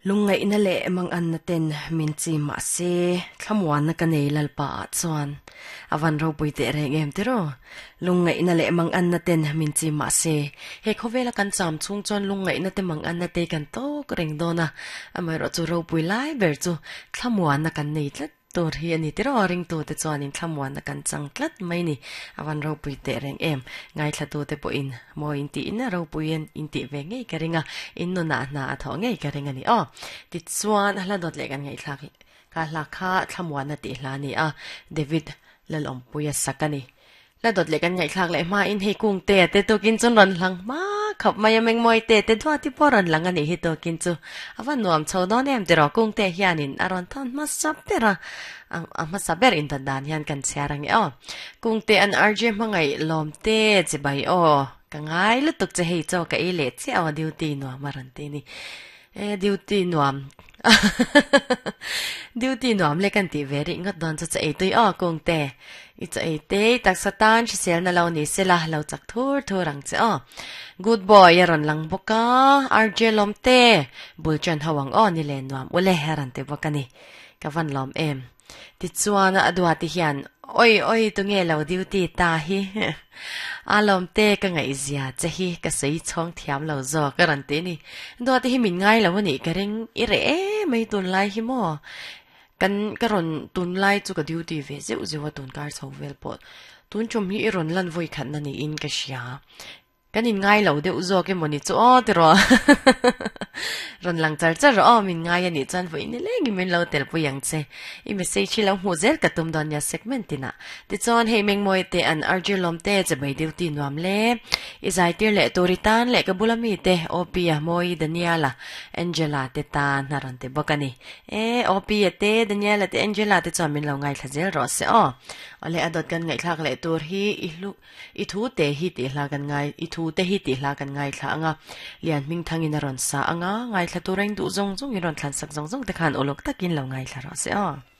Lungngaihna leh manganna ten min chim mahse thlamuanna ka nei Lalpa ah chuan a van ropui teh reng em tiraw? Lungngaihna leh manganna ten min chim mahse he khawvela kan cham chhung chuan lungngaihna te manganna te kan tawk reng dawn a, amaherawhchu ropui lai ber chu thlamuanna kan nei tlat. Tur hi a ni tiraw ringtute chuanin thlamuanna kan chang tlat mai ni. A van ropui teh reng em. Ngaithlatute pawhin mawi in tiin a ropui in in tih ve ngei ka ring a, in nunah hna a thawh ngei ka ring a ni aw. Tichuan hla dawt leh kan ngaihthlak ka hla kha thlamuanna tih hla a ni a, David Lalawmpuia sak a ni. La dawt leh kan ngaihthlak leh hmain hei kung te a te tukin chuan rawn hlang hma khawp mai a, mengmawi te te duat hi pawh rawn lang a nih hi tukin chu a va nuam chho dawn em tiraw kung te hianin a rawn thawn hmasa ber a, a hmasa ber indawt dan hian kan chhiar ang e aw. Kung te an RJ hmangaih lawm te chibai aw ka ngai lutuk che hei chaw ka ei leh chiah aw duty nuam a rawn ti ni. E duty nuam duty nuam le kan tih ve rih ngawt dawn chu cha ei tui aw kung te i cha ei te i taksa tan hriselna lo ni sela lo chak thur thur ang che aw good boy a rawn lang bawk a RJ lawm te bul ṭan ho ang aw ni le nuam ule a rawn ti bawk a ni ka van lawm em. Tichuan a duati hian, Oi oi tunge lo duty ta hi? A lawmte ka ngaihzia che hi ka sawi chhawng thiam lo zawk a rawn ti a ni. Duati hi min ngai lo a nih ka ring, i reh em mai tunlai hi maw? Kan ka rawn tunlai chu ka duty ve zeuh zeuh a tunkar chho vel pawh. Tun tum hi i rawn lan vawi khatna niin ka hria. Kan in ngai lo deuh zawk emaw ni chu aw tiraw rawn lang char char rawh aw min ngai a nih chuan vawiin ni lengin min lo tel pui ang che i message hi lo hmuh zel ka tum dawn nia segment tinah tichuan hei Mengmawi te an RJ lawm te chebei duty nuam le i zaitir leh tur i tan leh ka bula mi te Opia Mawi Daniela Angela te tan a rawn ti bawk a ni e Opia te Daniela te Angela te chuan min lo ngaithla zel rawh se aw awle a dawt kan ngaihthlak leh tur hi i hlu I thu te hi tih hla kan ngai, i thu te hi tih hla kan ngaithla ang a, Lian Hmingthangin a rawn sa ang a, ngaithla tur a in duh zawng zawng in rawn thlansak zawng zawng te khan uluk takin lo ngaithla rawh se aw.